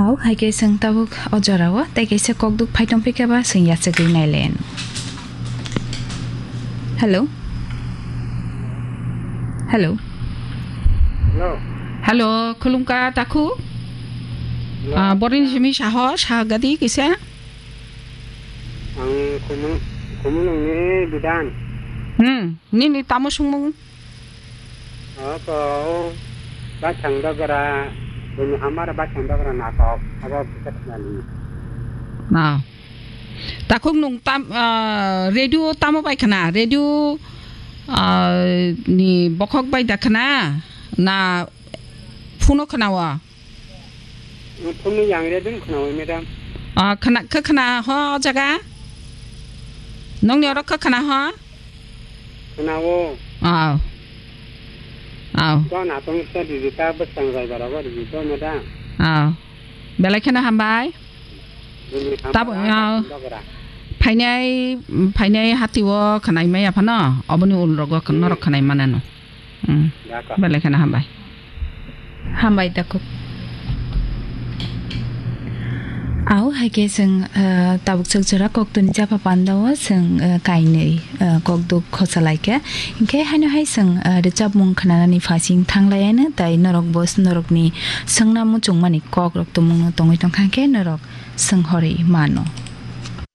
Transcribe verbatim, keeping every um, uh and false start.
Au, hai khe chwng tabuk o jorao tei kaisa kokduk phai tong phikha ba chwng yachagwi nailen. Hello? Hello? Hello? Hello, khulumkha takhuk? Hello? Ah, borini simi saho, sahagadi kisa? Ang Khumung-, Khumulungni Bidan. Hmm, nini tamo sungmung? Oko, o, Baithang Dogra, bini hamar Baithang Dogra natok, abo kisa khnali. Ah. Takhuk nung tam, ah, radio tamo bai khna? Radio, ah, ni bokhok bai da khna? Na phuno khna wa? Phone ni yang radio khna wa, madam. Ah, khna, khe khna ho o jaga? Nungni oro khe khna ho? Khna o. Ah. Ah. Don atong sa di ta bwsang jai bara ba di to, madam. Ah. Belai kheno hambai. Bini Tabo, hambai ah, Baithang Dogra. Phainai, phainai hati o khwnai maya phano, oboni ulrogo Hmm. norok khwnai manano. Hmm. Dako. Belai kheno hambai. Hambai takhuk. Au, hai khe chwng, ah, tabuk chwk jora koktwni chapa pandao chwng, ah, kainwi, ah, kokduk khosa lai khe. Hinkhe haino hai chwng, ah, rwchapmung khwnanani phasing thang lai ano, tai norok bo norokni swngna muchungmani kokrok tongmungno tongwi tongkha khe norok swng horwi mano.